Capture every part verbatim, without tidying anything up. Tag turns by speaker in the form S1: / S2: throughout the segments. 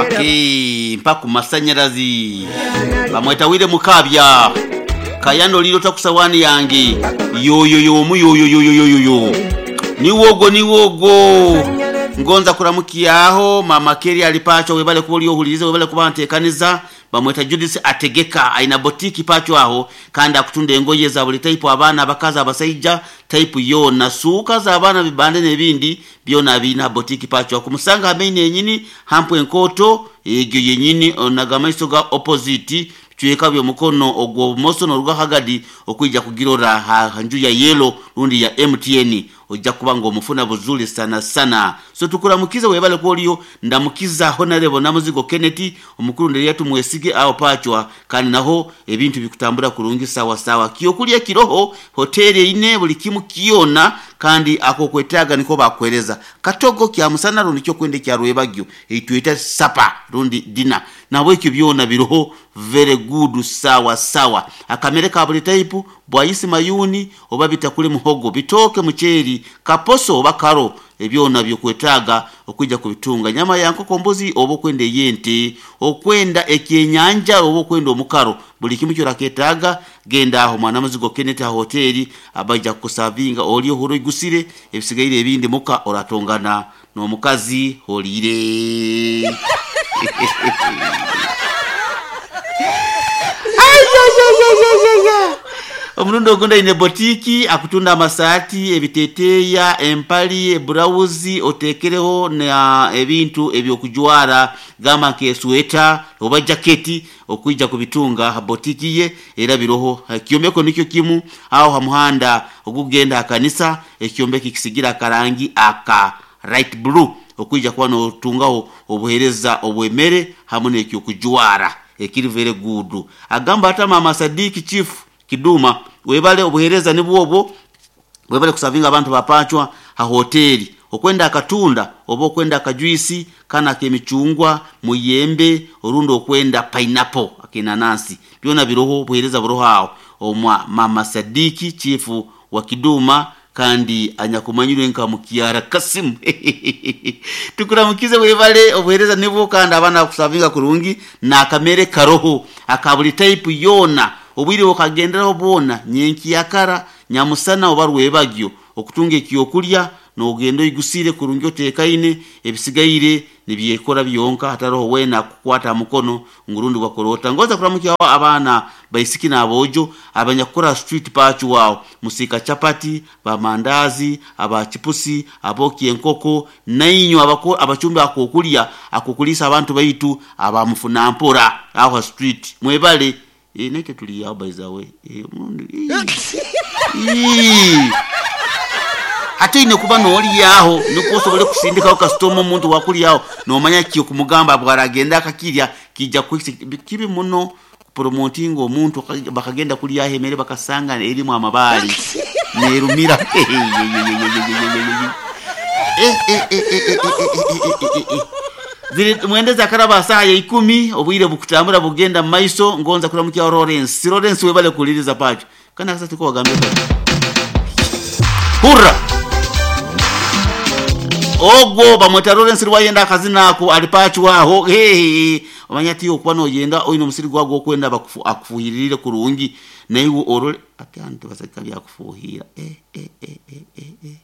S1: Okay, mpaka kumasanyalazi bamweta wire mukabya kayano lilo takusawani yange yoyo yomu yoyo yoyo yoyo yo niwogo niwogo ngonza kuramukiyaho mama Keri alipacho webale kuba oli webale kuba ntekaniza bamweta Judith ategeka aina botiki pacho aho kandi akutunda engoye za buli type abaana abakazi abasaija type yona suuka za abaana bibande n'ebindi byona bina botiki pacho akumusanga hamene yenyini hampu enkoto egyo yenyini onagamaiso ga opposite chweka byo mukono ogwo bumoso n'orwa hagadi okwijja kugirora ha nju ya yellow rundi ya M T N ojja kuba ngo omufuna buzuli sana sana. So tukuramukiza webale kwoliyo ndamukiza honorable Namuzigo Kenneth omukuru nderi yatumwesige aho pachwa kandi naho ebintu bikutambura kurungi sawa sawa kiyokulya kiroho hoteli ine buli kimu kiona kandi ako kwetaga niko bakwereza katogo kya musana rundi kyo kwende kya rwebagyo itwita sapa rundi dina nawe ekyo byona biroho very good sawa sawa akamere ka buli type bwayisi mayuni oba bitakule muhogo bitoke mucheri kaposo oba karo ebyona byokwetaaga okwijja kubitunga nyama ya nkoko mbuzi oba okwenda ey'ente okwenda ekyenyanja oba okwenda omukaro buli kimu kyoraketaaga genda aho mwana muzigo Kenneth ha hoteli abaija kusavinga oli ohuro igusire ebisigaire ebindi muka oratongana n'omukazi holire. Omurundi ogunda ine botiki akutunda amasati ebiteteya empali eburawuzi otekereho na ebintu ebyokujwara gamba nke sweta oba jaketi okwijja kubitunga ha botiki ye era biroho ekyombeko nikyo kimu aho ha muhanda ogugenda akanisa ekyombeko kisigira akarangi aka light blue okwijja kuba notungaho obuhereza obwemere hamwe n'ekyokujwara ekiri very good. Agamba ata mama Sadiki Chief Kiduma webale obuhereza nibwobwo webale kusavinga abantu bapachwa ha hoteli okwenda akatunda oba okwenda akajuisi kana kemichungwa muyembe orundo okwenda pineapple akinanasi byona biroho obuhereza buroho aho omwa mama Sadiki Chief wa Kiduma kandi anyakumanyirwe nka Mukiara Kasimu. Tukuramukize webale obuhereza nibwo kandi abana kusavinga kurungi na akamere karoho akabuli type yona obwire okagenderaho bwona nyenki yakara nyamusana oba rwebagyo okutunga ekyokulya n'ogenda oyigusire kurungi otekaine ebisigaire nibyekora byonka hataroho wena kukwata mukono ngurundi wakorota ngoza kuramukiyaho abaana baisiki n'abojo abanyakukora street pachu wao musika chapati bamandazi abachipusi aboki enkoko nainyo abako abachumba akokulya akokulisa abantu baitu abamufuna mpora aho street mwebale e, naite tuliyaho by the way e, e, ate ine kuba n'olyaho nukwo osobole kusindikaho kasitoma omuntu wakulyaho nomanya ki okumugamba bwaragenda akakirya kijja kibi muno promoting omuntu bakagenda kulyaho emere bakasanga erimu amabaali nerumira. Mwendeza akaraba saha ya ikumi obwire bukutambura bugenda mu maiso ngonza kuramukia Lawrence. Lawrence webale kuliriza pacho kana kasa tuko wagambe hurra ogwo bamweta Lawrence rwayenda akazina ako alipacho aho hehe omanya ti okuba noyenda oyina omusiri gwagwo okwenda akufuhirire kurungi naiwe orole ate antu basaka byakufuhira eh eh eh eh eh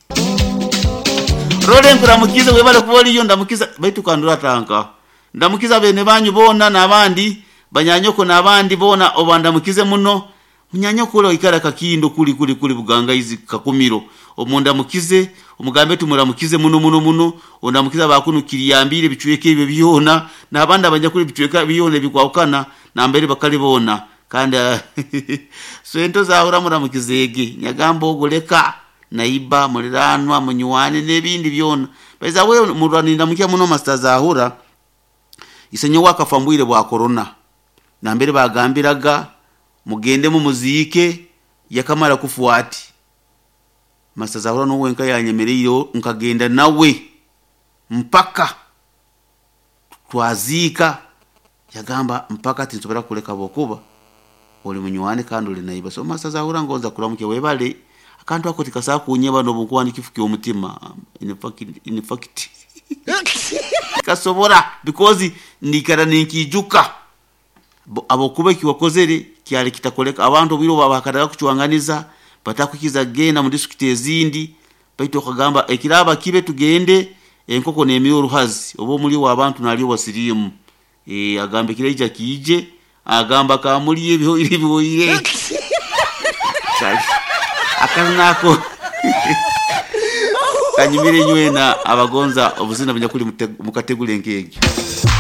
S1: Lawrence kuramukiza webale kuba oliyo ndamukiza baitu kandura tanka ndamukiza bene banyu bona n'abandi banyanyoko n'abandi bona obandamukize muno munyanyoko ule ikara kakindo kuli kuli kuli buganga izi kakumiro omundamukize omugambe tumuramukize muno muno muno ondamukiza bakunukiriyambire bichweke ebyo byona n'abandi abanyakuli bichweka byona bikwawukana nambere bakali bona kandi sento zahura muramukizege nyagamba ogoleka naiba muliranwa munywane n'ebindi byona baiza we murwaninda mukya muno master zahura isenyo wakafambwire bwa corona nambere bagambiraga mugende mu muzike yakamara kufuati master zahura no wenka yanyemereyo nkagenda nawe mpaka twazika yagamba mpaka tinsobora kuleka bokuba oli munywane kandi oli naiba so master zahura ngonza kuramuke webale akantu ako tikasa kunyeba no bunkuwa nikifuki omutima in fact in fact Sindikasobora because ndikara ninkijuka abokuba ekiwakozere kyali kitakoleka. Abantu obwire obu bahakanaga kucwanganiza batakukiza kugenda mu disitulikiti ezindi, baitu okagamba ekiraba kibe tugende, enkoko nemira oruhazi oba omuli w'abantu nalyo wa siriimu. E, agamba ekiraija kiije, agamba kamuli ebihoire bihoire akanako kanyumire nywena abagonza obuzina bunyakuli mukategule nk'egyo.